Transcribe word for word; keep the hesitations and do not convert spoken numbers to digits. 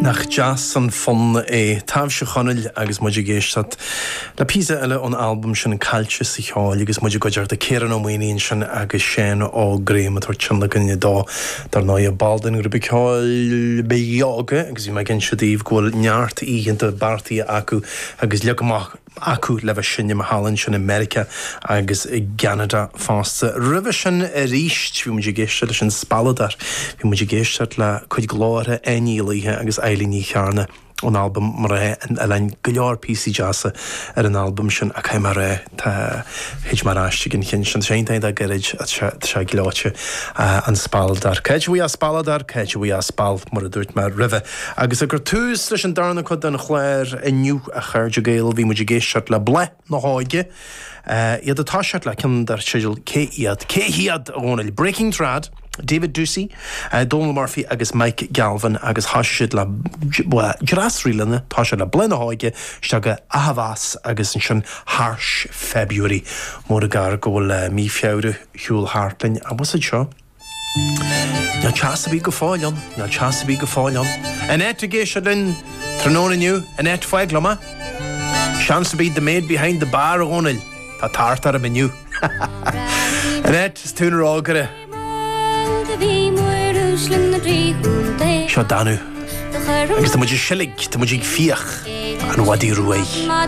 Nach deas an fonn é Taibhse Chonaill agus muid ag éisteacht le píosa eile ón albam sin Caillte sa Cheol agus muid i gcuideachta Ciarán Ó Maonaigh ansin agus Seán Ó Graham ag tabhairt tionlacan dó dar ndóigh ball den ghrúpa ceoil Beoga agus bhí mé ag inse daoibh go bhfuil neart oícheanta beartaithe acu agus leagtha amach acu le bheith seinm thall ansin i Meiriceá agus i gCeanada fosta. Roimhe sin arís bhí muid ag éisteacht leis an Spealadóir, bhí muid ag éisteacht le cuid glórtha Áine Ní Laoithe agus Eilín Ní Chearna ón albam Mná an Oileáin go leor píosaí deasa ar an albam sin a caithfidh mé a rá tá thit mé ar ais ag an cheann sin sé tá gairid sé sé gleoite an Spealadóir. Cá bhfuil Spealadóir cá bhfuil spal mar a dúirt mé roimhe. Agus ag cur tús leis an darna cuid den chlár inniu a chairde Gael bhí muid ag éisteacht le Bláth na hÓige. Uh, iad ag toiseacht le ceann dar teideal cé iad cé hiad a Dhónaill Breaking Trad. David Ducey, uh, Donal Murphy agus Mike Galvin agus thosaigh siad le dreasrílena tá sé le Bláth na hÓige isteach go Ahavas agus ansin Harsh February mór gar go bhfuil uh, mí Feabhra shiúl thart linn a bhfuil seo. Níl teas ar bith go fóill ann, níl teas ar bith go fóill ann. Annette ag éisteacht linn tráthnóna inniu, Annette fág liom. Seans to be the maid behind the bar a Dhónaill. Tá tart ar an menu. Annette is tú rógaire. Seo Danú. Agus tá muid ag seilg, tá muid ag fiach an mhadaidh ruaidh.